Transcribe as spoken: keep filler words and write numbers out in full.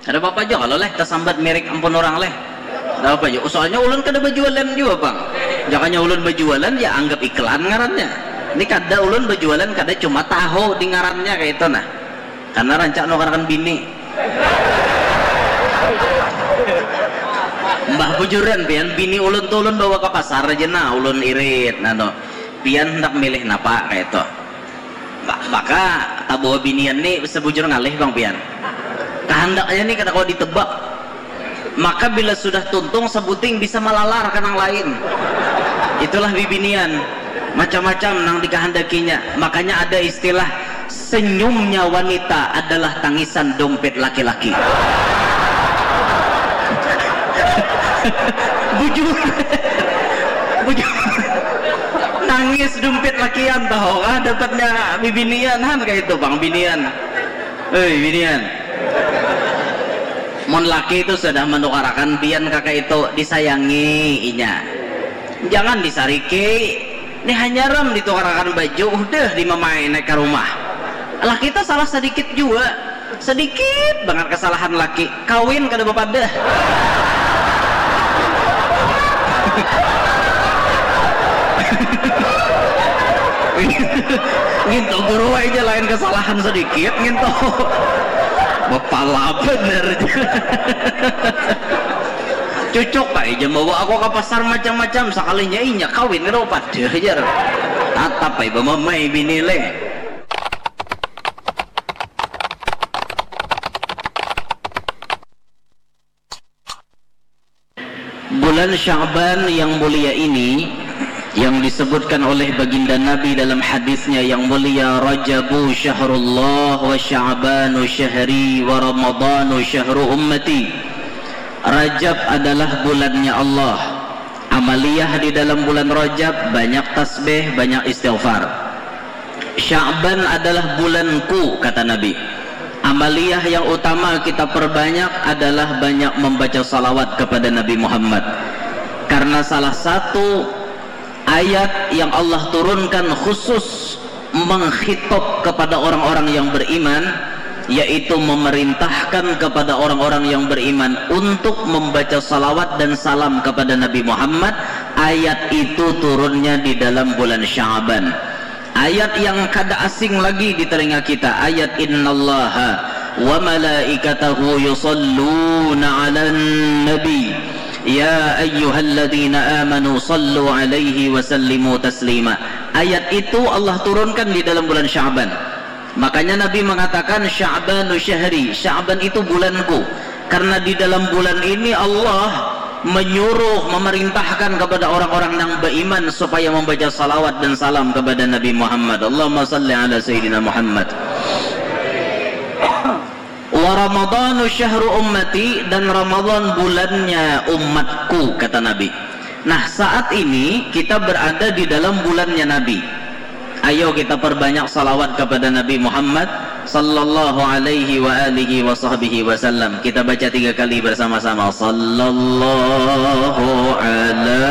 Kada apa-apa jua kalau leh tasambat mirik ampun urang leh. Kada apa jua. Soalnya ulun kada bajualan jua pang. Jakanya ulun bajualan ya anggap iklan ngarannya. Ini kada ulun bajualan kada cuma tahu di ngarannya kayak itu nah. Karena rancak nukarakan bini. Mbah bujuran pian bini ulun tuh ulun bawa ke pasar aja nah ulun irit nah tuh. Pian hendak milih napa kayak itu. Maka tabawa binian ni sebujur ngalih bang pian. Kahandaknya ni kada kawa ditebak. Maka bila sudah tuntung sebuting bisa malalar ke nang lain. Itulah bibinian. Macam-macam nang dikahandakinya. Makanya ada istilah senyumnya wanita adalah tangisan dompet laki-laki. Bujur. Bujur. Nangis dompet lakian tahu kah dapatnya bibinian han kayak itu bang binian. Hei binian. Mun laki itu sudah menukarakan pian kakak itu disayangi inya. Jangan disariki. Ini hanya ram ditukarakan baju udah dimamai naik ke rumah. Laki itu salah sedikit juga. Sedikit banget kesalahan laki. Kawin kada bepadah. Nginto guru aja lain kesalahan sedikit nginto. Bepala bener. Cucuk aja bawa aku ke pasar macam-macam sekalinya inya kawin kada padah jar. Tatap aja mamai bini leh. Bulan Sya'ban yang mulia ini yang disebutkan oleh baginda Nabi dalam hadisnya yang mulia Rajabu syahrullah wa Sya'banu syahri wa Ramadanu syahru ummati. Rajab adalah bulannya Allah. Amaliyah di dalam bulan Rajab banyak tasbih, banyak istighfar. Sya'ban adalah bulanku kata Nabi. Amaliyah yang utama kita perbanyak adalah banyak membaca salawat kepada Nabi Muhammad. Karena salah satu ayat yang Allah turunkan khusus mengkhitob kepada orang-orang yang beriman yaitu memerintahkan kepada orang-orang yang beriman untuk membaca salawat dan salam kepada Nabi Muhammad. Ayat itu turunnya di dalam bulan Sya'ban. Ayat yang kada asing lagi di telinga kita, ayat innallaha wa malaikatahu yusalluna 'alan nabi ya ayyuhalladzina amanu sallu 'alaihi wa sallimu taslima. Ayat itu Allah turunkan di dalam bulan Sya'ban. Makanya Nabi mengatakan Sya'banu syahri, Sya'ban itu bulanku. Karena di dalam bulan ini Allah menyuruh memerintahkan kepada orang-orang yang beriman supaya membaca salawat dan salam kepada Nabi Muhammad. Allahumma salli ala sayyidina Muhammad. Wa ramadanu syahru ummati dan Ramadan bulannya umatku kata Nabi. Nah saat ini kita berada di dalam bulannya Nabi. Ayo kita perbanyak salawat kepada Nabi Muhammad sallallahu alaihi wa alihi wa sahbihi wasallam. Kita baca tiga kali bersama-sama. Sallallahu ala